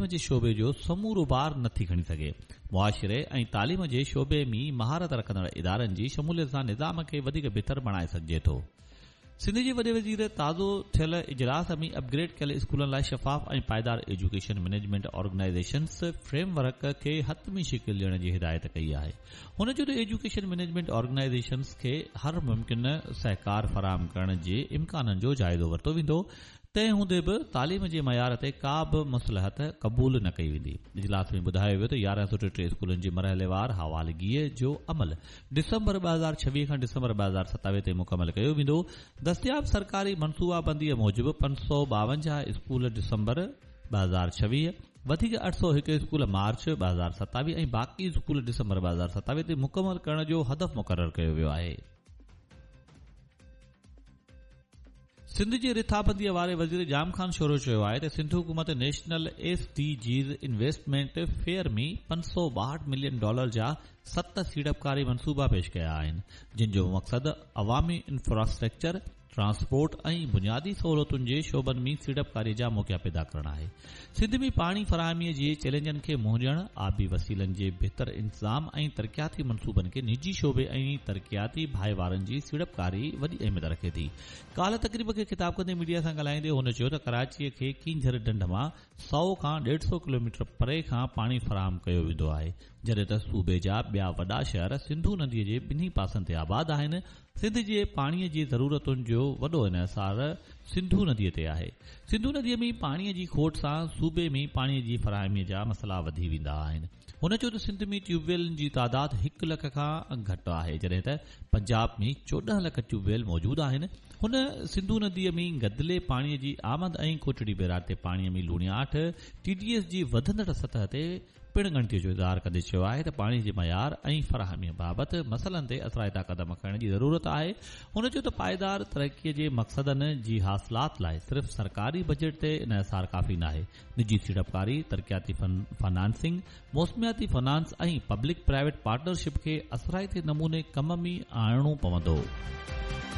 تعليم جي شعبي جو سمورو بار نٿي کڻي سگهي. معاشري ۽ تعليم جي شعبي ۾ مهارت رکندڙ ادارن جي شموليت سان نظام کي وڌيڪ بهتر بڻائي سگهجي ٿو. سنڌ جي وڏي وزير تازو ٿيل اجلاس ۾ اپ گريڊ ڪيل اسڪولن لاء شفاف ۽ پائيدار education management organisations frame work کي حتمي شڪل ڏيڻ جي هدايت ڪئي آهي. هن چيو ته ايجوڪيشن مئنيجمينٽ آرگنائيزيشنز کي هر ممڪن سهڪار فراهم ڪرڻ جي امڪانن جو جائزو ورتو ويندو، تنهن هوندي به تعليم جي معيار تي ڪا به مصلحت قبول نه ڪئي ويندي. اجلاس ۾ ٻڌايو ويو ته 1133 اسڪولن جي مرحليوار حوالگيء جو عمل ڊسمبر 2026 کان ڊسمبر 2027 تائين مڪمل ڪيو ويندو. دستياب سرڪاري منصوبابنديء موجب 552 اسڪول ڊسمبر 2026، وڌيڪ 801 اسڪول مارچ 2027 ۽ باقي اسڪول ڊسمبر 2027 تائين مڪمل ڪرڻ جو هدف مقرر ڪيو ويو آهي. سنڌ جي رٿابنديء واري وزير ڄام خان شورو چيو آهي ته سنڌ حڪومت national S D Gs investment fair ۾ 562 million dollar جا ست سيڙپڪاري منصوبا پيش ڪيا آهن جن جو مقصد عوامي انفراسٽرڪچر، ٽرانسپورٽ ۽ بنيادي سهولتن جي شعبن ۾ سيڙپڪاري جا موقعا پيدا ڪرڻ آهي. سنڌ ۾ پاڻي فراهمي جي چئلينجن کي منهن ڏيڻ، آبي وسيلن جي بهتر انتظام ۽ ترقياتي منصوبن کي نجي شعبي ۽ ترقياتي ڀائيوارن جي سيڙپڪاري وڏي اهميت رکي ٿي. ڪالهه تقريب کي خطاب ڪندي ميڊيا سان ڳالهائيندي هن چيو ته ڪراچي کي ڪينجهر ڍنڍ مان سئو کان ڏيڍ سئو ڪلوميٽر پري کان پاڻي فراهم ڪيو ويندو آهي جڏهن ته صوبي جا ٻيا وڏا شهر سنڌو ندي جي ٻنهي پاسن تي آباد آهن سنڌ جي پاڻي جي ضرورتن جو وڏو انحصار سنڌو نديء تي آهي. سنڌو نديء ۾ پاڻي جي کوٽ سان صوبي ۾ پاڻي جي فراهمي جا مسئلا وڌي ويندا آهن. هن چيو ته سنڌ ۾ ٽيوب ويلن جي تعداد هڪ لک کان گهٽ آهي جڏهن ته پنجاب ۾ 14 لک ٽيوب ويل موجود آهن. هن سنڌو نديء ۾ گدلي پاڻي جي آمد ۽ ڪوٽڙي بئراج تي پاڻي ۾ لوڻياٺ ٽي ڊي ايس جي وڌندڙ سطح تي پڻ ڳڻتي جو اظهار ڪندي چيو آهي ته پاڻي جي معيار ۽ فراهمي بابت مسئلن تي اثرائتا قدم کڻڻ جي ضرورت آهي. هن چيو ته پائيدار ترقي جي مقصدن جي حاصلات لاء صرف سرڪاري بجيٽ تي انحصار ڪافي ناهي، نجي سيڙپڪاري، ترقياتي فنانسنگ، موسمياتي فنانس ۽ پبلڪ پرائيويٽ پارٽنرشپ کي اثرائتي نموني ڪم ۾ آڻڻو پوندو.